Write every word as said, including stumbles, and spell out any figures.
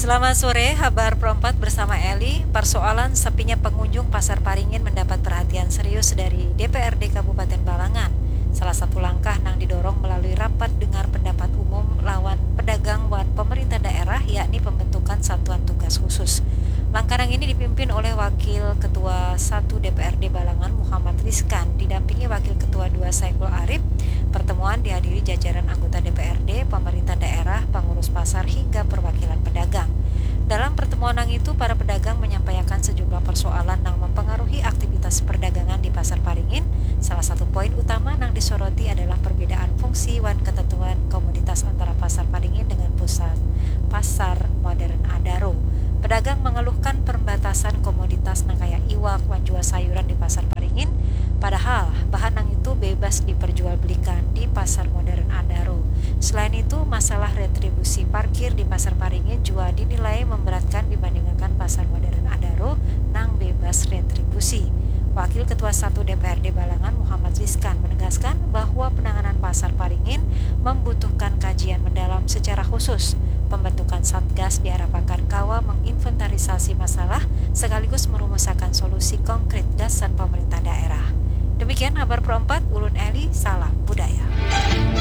Selamat sore, Habar Pro empat bersama Eli. Persoalan sepinya pengunjung Pasar Paringin mendapat perhatian serius dari D P R D Kabupaten Balangan. Salah satu langkah nang didorong melalui rapat dengar pendapat umum lawan pedagang wan pemerintah daerah, yakni pembentukan satuan tugas khusus. Langkah nang ini dipimpin oleh Wakil Ketua satu D P R D Balangan, Muhammad Rizkan, didampingi Wakil Ketua dua, Saiful Arif. Pertemuan dihadiri jajaran anggota D P R D, pemerintah daerah, pengurus pasar, hingga perwakilan pedagang. Dalam pertemuan nang itu, para pedagang menyampaikan sejumlah persoalan nang mempengaruhi aktivitas perdagangan di Pasar Paringin. Salah satu poin utama nang disoroti adalah perbedaan fungsi wan ketentuan komoditas antara Pasar Paringin dengan pusat Pasar Modern Adaro. Pedagang mengeluhkan perbatasan komoditas nang kaya iwak wan jua sayuran di Pasar Paringin, padahal bahan nang itu bebas diperjualbelikan di Pasar Modern Adaro. Selain itu, masalah retribusi parkir di Pasar Paringin jua dinilai memberatkan dibandingkan Pasar Modern Adaro nang bebas retribusi. Wakil Ketua satu D P R D Balangan, Muhammad Rizkan, menegaskan bahwa penanganan Pasar Paringin membutuhkan kajian mendalam secara khusus. Pembentukan Satgas diharapkan kawa menginventarisasi masalah sekaligus merumusakan solusi konkret gasan pemerintah daerah. Demikian Habar Pro empat, ulun Eli, salam budaya.